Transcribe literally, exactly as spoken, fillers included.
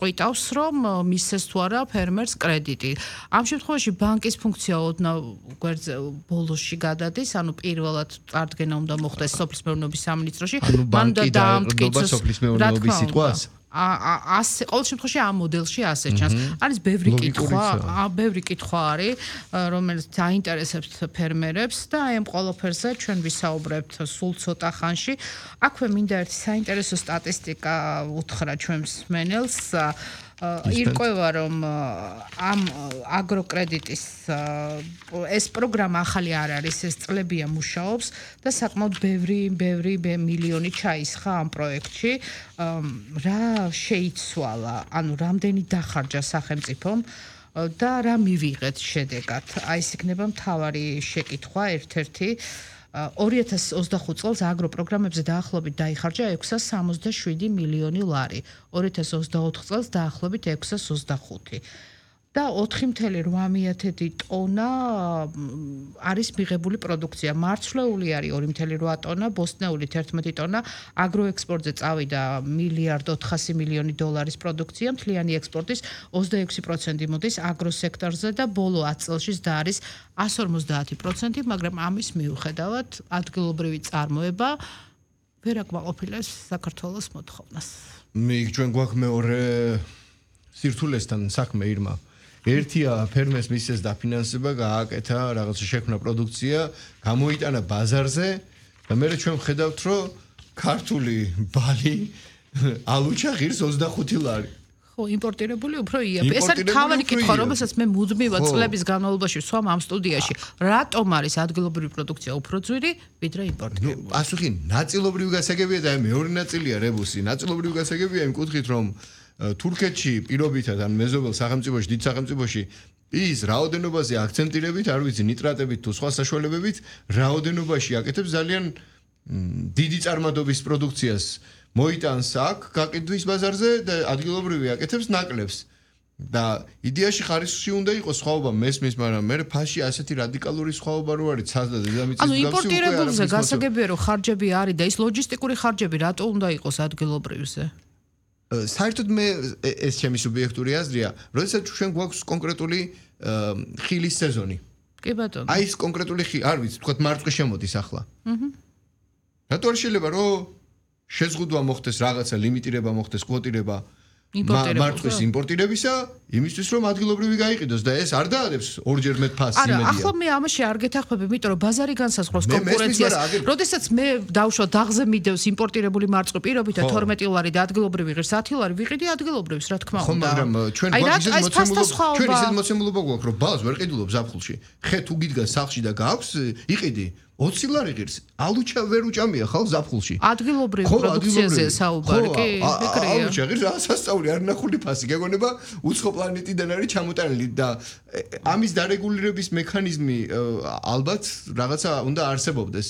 ყვითავს, რომ მისცეს თუ არა ფერმერს კრედიტი. ამ შემთხვევაში ბანკის ფუნქცია ოდნავ გვერდზე ბოლოსში გადადის, ანუ პირველად წარდგენა უნდა მოხდეს სოფლის მეურნეობის სამინისტროში. მან და დაამტკიცოს სოფლის მეურნეობის სიტყვას. ასე ყოველ შემთხვევაში ამ მოდელში ასე ჩანს. არის ბევრი კითხვა, ბევრი კითხვა არის, რომელიც დაინტერესებს ფერმერებს და აი ამ ყველაფერზე ჩვენ ვისაუბრებთ სულ ცოტა ხანში. აქვე მინდა ერთი საინტერესო სტატისტიკა უთხრა ჩვენ მსმენელს. ირკვევა რომ ამ აგროკრედიტის ეს პროგრამა ახალი არ არის, ეს წლებია მუშაობს და საკმაოდ ბევრი ბევრი მილიონი ჩაისხა ამ პროექტში. რა შეიცვალა, ანუ რამდენი დახარჯა სახელმწიფომ და რა მივიღეთ შედეგად. აი ეს იქნება მთავარი შეკითხვა ერთ-ერთი. ორი ათას ოცდახუთ წელს აგროპროგრამებზე დაახლოებით დაიხარჯა ექვსას სამოცდაშვიდი მილიონი ლარი. ორი ათას ოცდაოთხ წელს დაახლოებით ექვსას ოცდახუთი. და ოთხი ათეული რვა ტონა არის მიღებული პროდუქცია. მარცვლეული არის ორი ათეული რვა ტონა, ბოსტნეული თერთმეტი ტონა, აგროექსპორტზე წავიდა მილიარდ ოთხასი მილიონი დოლარის პროდუქცია, მთლიანი ექსპორტის ოცდაექვსი პროცენტი მოდის აგროსექტორზე და ბოლო ათ წელში და არის εκατს ორმოცდაათი პროცენტი, მაგრამ ამის მიუხედავად ადგილობრივი წარმოება ვერ აკმაყოფილებს საქართველოს მოთხოვნას. მე ჩვენ გვაქვს მეორე სირთულესთან საქმე ირმა. ერთია ფერმერს მისცეს დაფინანსება, გააკეთა რაღაცა შექმნა პროდუქცია, გამოიტანა ბაზარზე და მე ჩვენ ვხედავთ, რომ ქართული ბალი ალუჩა ღირს ოცდახუთი ლარი. ხო, იმპორტირებული უფრო იაფი. ეს არის თავარი კითხვა, რომელსაც მე მუდმივად წლების განმავლობაში ვსვამ ამ სტუდიაში. რატომ არის ადგილობრივი პროდუქცია უფრო ძვირი, ვიდრე იმპორტირებული? პასუხი ნაწილობრივი გასაგებია და მეორე ნაწილია რებუსი. ნაწილობრივი გასაგებია იმ კუთხით, რომ თურქეთში პირობითად ან მეზობელ სახელმწიფოში, დიდ სახელმწიფოში ის რაოდენობაზე აქცენტირებით, არ ვიცი, ნიტრატებით თუ სხვა საშუალებებით, რაოდენობაში აკეთებს ძალიან დიდი წარმადობის პროდუქციას. მოიტანს აქ გაყიდვის ბაზარზე და ადგილობრივი აკეთებს ნაკლებს. და იდეაში ხარისხში უნდა იყოს სხვაობა მესმის, მაგრამ მე ფაში ასეთი რადიკალური სხვაობა რო არის ცას და დედამიწის გასი უკვე არა. ანუ იმპორტირებულზე გასაგებია რომ ხარჯები არის და ის ლოჯისტიკური ხარჯები რატო უნდა იყოს ადგილობრივზე? საერთოდ მე ეს ჩემი სუბიექტური აზრია, როდესაც ჩვენ გვაქვს კონკრეტული ხილის სეზონი. კი ბატონო. აი ეს კონკრეტული ხილი, არ ვიცი, თქვა მარწყვი შემოდის ახლა. აჰა. რატო არ შეიძლება რომ შეზღუდვა მოხდეს რაღაცა ლიმიტირება მოხდეს კვოტირება მარწვის იმპორტირებისა იმისთვის რომ ადგილობრივი გაიყიდოს და ეს არ დაადებს ორჯერ მეტ ფასს იმედია. არა, ახლა მე ამაში არ გეთახმები, იმიტომ რომ ბაზარი განსაზღვრავს კონკურენციას. როდესაც მე დავშვა დაღზე მიდევს იმპორტირებული მარწყვი პირობითად თორმეტი ლარი და ადგილობრივი ღირს ათი ლარი, ვიყიდი ადგილობრივს, რა თქმა უნდა. ხო, მაგრამ ჩვენ გვაქვს ის მოცემულობა, ჩვენ ისეთ მოცემულობა გვაქვს, რომ ბალს ვერ ყიდულობ ზაფხულში. ხე თუ გიდგა სახლში და გაქვს, იყიდი. ოცი ლარი ღირს, ალუჩა ვერ უჭამია ხალ ზაფხულში. ადგილობრივი პროდუქციაზე საუბარი, კი, ეგრეა. ალუჩა ღირს ასასწაული არ ნახული ფასი, გეგონება უცხო პლანეტიდან არის ჩამოტანილი და ამის დარეგულირების მექანიზმი ალბათ რაღაცა უნდა არსებობდეს.